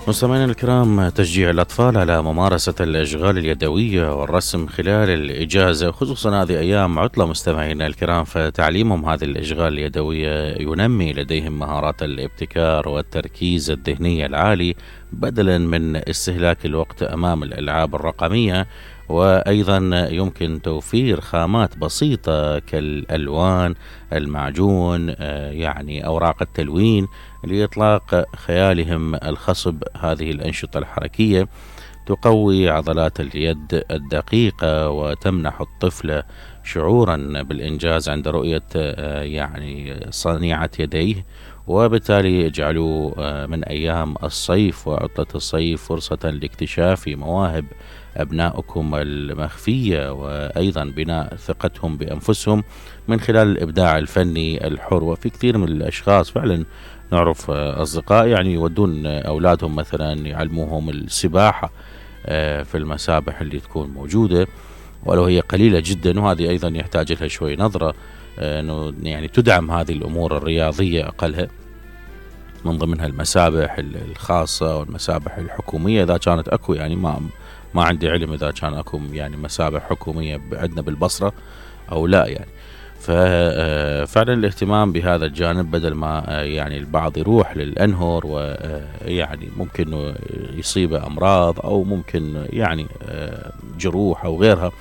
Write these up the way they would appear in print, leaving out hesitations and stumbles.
مستمعينا الكرام، تشجيع الأطفال على ممارسة الأشغال اليدوية والرسم خلال الإجازة، خصوصا هذه أيام عطلة مستمعينا الكرام، فتعليمهم هذه الأشغال اليدوية ينمي لديهم مهارات الابتكار والتركيز الذهني العالي، بدلا من استهلاك الوقت أمام الألعاب الرقمية. وأيضا يمكن توفير خامات بسيطة كالألوان، المعجون، يعني أوراق التلوين لإطلاق خيالهم الخصب. هذه الأنشطة الحركية تقوي عضلات اليد الدقيقة وتمنح الطفل شعورا بالإنجاز عند رؤية يعني صنيعة يديه، وبالتالي يجعلوا من أيام الصيف وعطلة الصيف فرصة لاكتشاف مواهب أبنائكم المخفية، وأيضا بناء ثقتهم بأنفسهم من خلال الإبداع الفني الحر. وفي كثير من الأشخاص فعلا نعرف أصدقاء يعني يودون أولادهم مثلا يعلموهم السباحة في المسابح اللي تكون موجودة، ولو هي قليلة جدا، وهذه أيضا يحتاج لها شوي نظرة أنه يعني تدعم هذه الأمور الرياضية أقلها، من ضمنها المسابح الخاصة والمسابح الحكومية إذا كانت أكو. يعني ما عندي علم إذا كان أكو يعني مسابح حكومية عندنا بالبصرة أو لا يعني. ففعلا الاهتمام بهذا الجانب بدل ما يعني البعض يروح للأنهر ويعني ممكن يصيبه أمراض أو ممكن يعني جروح أو غيرها،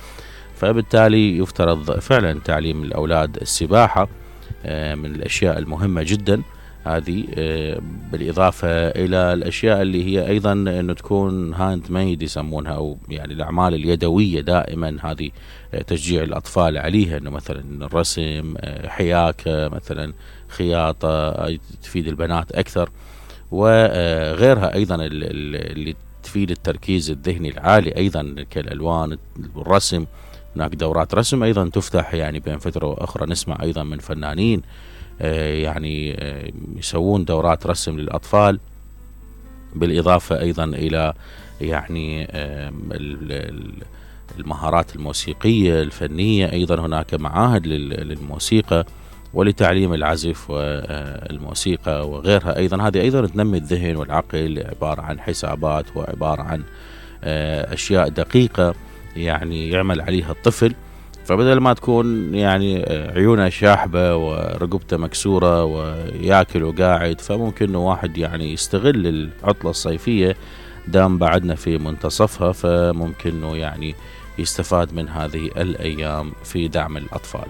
فبالتالي يفترض فعلا تعليم الأولاد السباحة من الأشياء المهمة جدا هذه، بالإضافة إلى الأشياء اللي هي أيضا أنه تكون هاند ميد يسمونها، أو يعني الأعمال اليدوية دائما هذه تشجيع الأطفال عليها، أنه مثلا الرسم، حياكة مثلا، خياطة تفيد البنات أكثر، وغيرها أيضا اللي تفيد التركيز الذهني العالي أيضا كالألوان والرسم. هناك دورات رسم أيضا تفتح يعني بين فترة وأخرى، نسمع أيضا من فنانين يعني يسوون دورات رسم للأطفال، بالإضافة أيضا إلى يعني المهارات الموسيقية الفنية. أيضا هناك معاهد للموسيقى ولتعليم العزف والموسيقى وغيرها أيضا. هذه أيضا تنمي الذهن والعقل، عبارة عن حسابات وعبارة عن أشياء دقيقة يعني يعمل عليها الطفل، فبدل ما تكون يعني عيونه شاحبة ورقبته مكسورة وياكل وقاعد، فممكن واحد يعني يستغل العطلة الصيفية دام بعدنا في منتصفها، فممكن يعني يستفاد من هذه الأيام في دعم الأطفال.